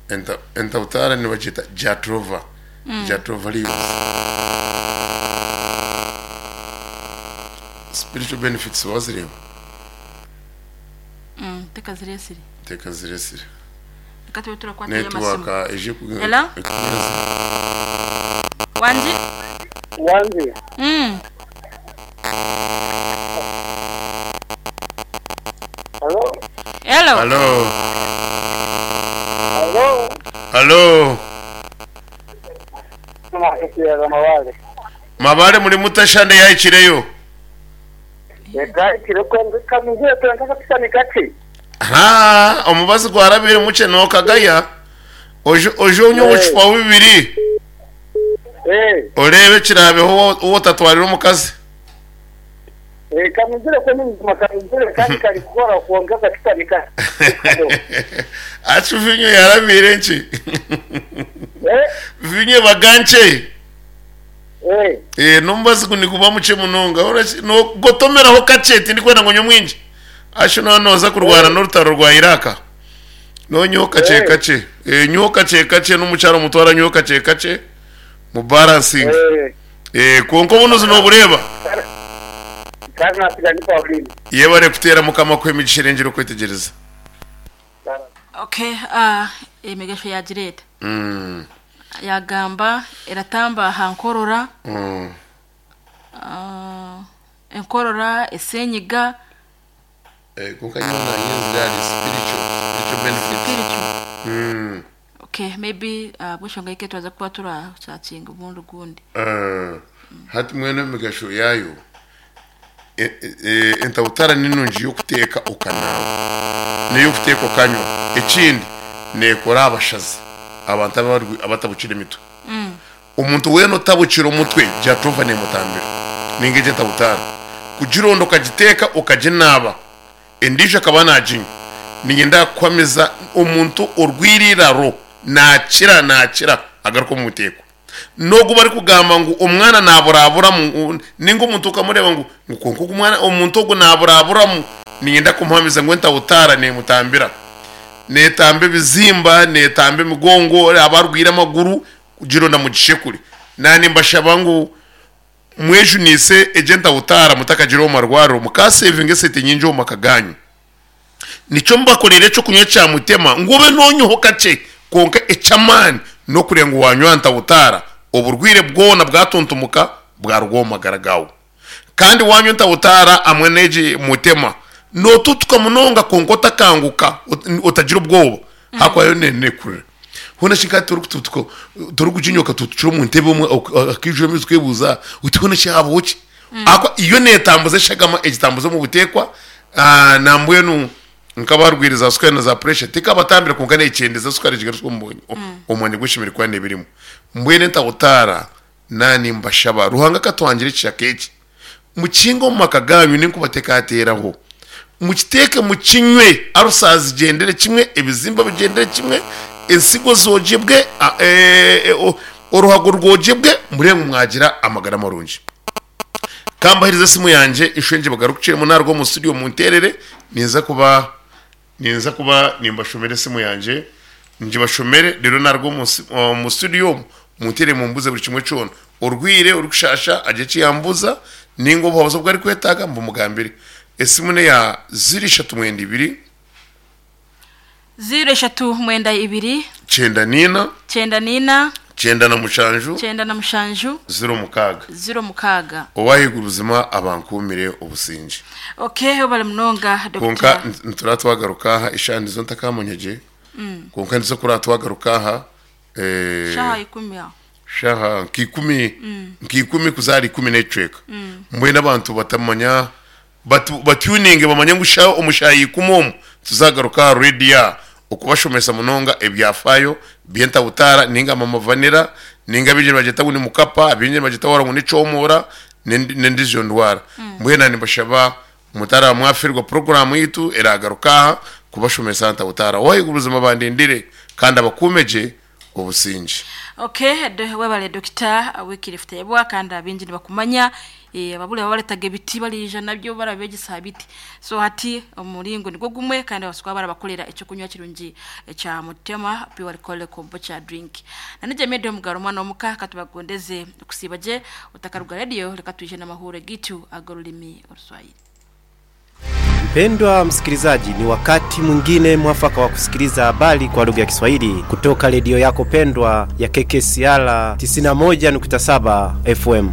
Enta entabutaara nibagyeta Jatropha, Jatropha leaves. Spiritual benefits wazireeba? Tekaziresire. Tekaziresire. Reka tube turakwatayo amasimu. Network eije ku Hello? ekunyeze. Wangi? Wangi. Hello? Hello? Hello. Hello? Hello. Tumakukirara Mabale. Mabale muri mutashande yahikireyo. Yahikire kwonka kamizire twenka akashushani kakye. Ha, omubazi gwarabire mukye nokagaya. Oje oje onywe obucupa bubiri. Oreebe ekiraabeho ou otatwarire omukazi. Kanuzire kwo n'obuzima kanuzire kandi kari kukora kwonka akashushani kariho. Acu vinyo yarabiire nkye. Vinyo ebaga nkye. N'omubazi gu niguba mukye munonga. Nogotomeraho kakye tindikwenda ngu onywe mwingi. Acu noba nooza kurwana n'orutaro rwa Iraq. Nonywaho kakye kakye. Nywaho kakye kakye n'omukyara omutware anyweho kakye kakye mu balansinge. Kwonka obunuzi noobureeba. Kandi nasiga ndi Pauline. Yebare kuteera Mukama akuhe emigisha erengire okwetegyereza. Okay, emigasho yagira eta? Yagamba eratamba aha nkorora, enkorora, esenyiga. Kwonka nyowe nanyenzire ahari spiritual, spiritual benefits. Spiritual. Okay, maybe ahabw'enshonga y'eke turaza kuba turasakinga obundi ogundi. Hati mbwenu emigasho yaayo, entabutara ni nungi y'okuteeka okanaaba n'ey'okuteeka okanywa. Ekindi neekora aha bashazi, abantu abatabukire emitwe. Omuntu weena otabukire omutwe Jatropha neemutambira nainga egyo entabutara. Kugironda okagiteeka okaginaaba endiijo akaba naaginywa, niinyenda kukuhamiza omuntu orwaire eiraro naakira naakira agaruka omu buteekwa. N'ogu barikugamba ngu omwana naaburaburamu nainga omuntu okamureeba ngu kwonka ogu mwana omuntu ogu naaburaburamu, niinyenda kumuhamiza ngu entabutara neemutambira. Neetamba ebizimba, neetamba emigongo, abarwaire amaguru kugironda mugishekure. Naanimbashaba ngu mwejunise egyo entabutara mutakagiire omu marwariro mukasevinga esente nyingi omu maka gaanyu. Nikyo mbakoreire eky'okunywa kya mutema ngu obe noonywaho kakye, kwonka eky'amaani n'okureeba ngu waanywa ntabutaara, oburwaire bwona bwatuntumuka bwaruga omu magara gaawe. Kandi waanywa entabutaara hamwe n'egi mutema, nootutuka munonga kwonka otakanguka, otagira obwoba ahakuba yo neekurira. Hoona shi nka torikututuka, torikuginywa okatutukira omu ntebe omwe akaijura amaizi okeebuuza oti hoona shi haabaho ki? Ahakuba yo neetambuza eshagama egitambuza omu buteekwa, nambwenu nk'abarwaire za sukaari na za puresha tekabatambira kwonka neekyendeza sukaari egigarutsya omu mwanya ogu eshemereire kuba neeba erimu. Mbwenu entabutaara Naanimbashaba, Ruhanga akatwangira ekishaka eki, mukihinge omu maka gaanyu n'enkubateekateeraho. Mukiteeke mukinywe, arusa zigyendere kimwe, ebizimba bigyendere kimwe, ensigo zoogyebwe, oruhago rwogyebwe, mureebe ngu mwagira amagara marungi. Ka mbaheereze esimu yangye, nshwengye bagarukiremu naaruga omu studio munteerere, ninza kuba Ninza kuba nimbashomera esimu yangye, ngibashomere reero naruga omu studio omu munteere mumbuze buri kimwe kyona. Orwaire, orikushasha agire eki yambuuza ninga obuhabuzi obu arikwetaaga mbumugambire. Esimu neya ziro ishatu mwenda ibiri. Ziro ishatu mwenda ibiri. Kyenda naina. Kyenda naina. 97. 97. 06. 06. Ow'ahaiguru buzima abankuumire obusingye. Okay webale munonga Kwonka Doctor. nitura twagaruka aha eshaaha nizo ntakamanya gye kwonka nizo kura twagaruka aha eh, Shaha ikumi aho. shaha nka ikumi nka ikumi kuza ahari ikumi n'ekicweka mbwenu abantu batamanya batu batuninge bamanye ngu shaha omu shaaha ikumi omu tuzagaruka aha radio aha okubashomesa munonga ebyafaayo by'entabutaara ninga mama vanilla ninga abaingi nibagyeta ngu ni mukapa abaingi nibagyeta wara ngu ni kyomora n'endiijo ndwara. Mbwenu na nimbashaba mutaraba mwafeerwa puroguraamu yaitu eraagaruka aha kubashomesa aha ntabutaara. Ow'ahaiguru buzima bandindire kandi abakuume gye. Obusingye. Okay, webale Dokita Wycliffe Tayebwa kandi abaingi nibakumanya. Ababura babaretaga ebiti bariija nabyo barabegyesa aha biti. So hati omuringo nigwo gumwe kandi babaasa kuba barabakorera ekyokunywa kirungi ekya Mutema Pure Alcoholic Kombucha Drink. Na nigye Media Omugaro omwana w'omuka katubagondeze okusiiba gye otakaruga radio reka twije n'amahuure gaitu ag'orurimi Oruswahili. Mpendwa msikilizaji, ni wakati mwingine mwafaka wa kusikiliza habari kwa lugha ya Kiswahili kutoka redio yako pendwa ya KKCR 91.7 FM.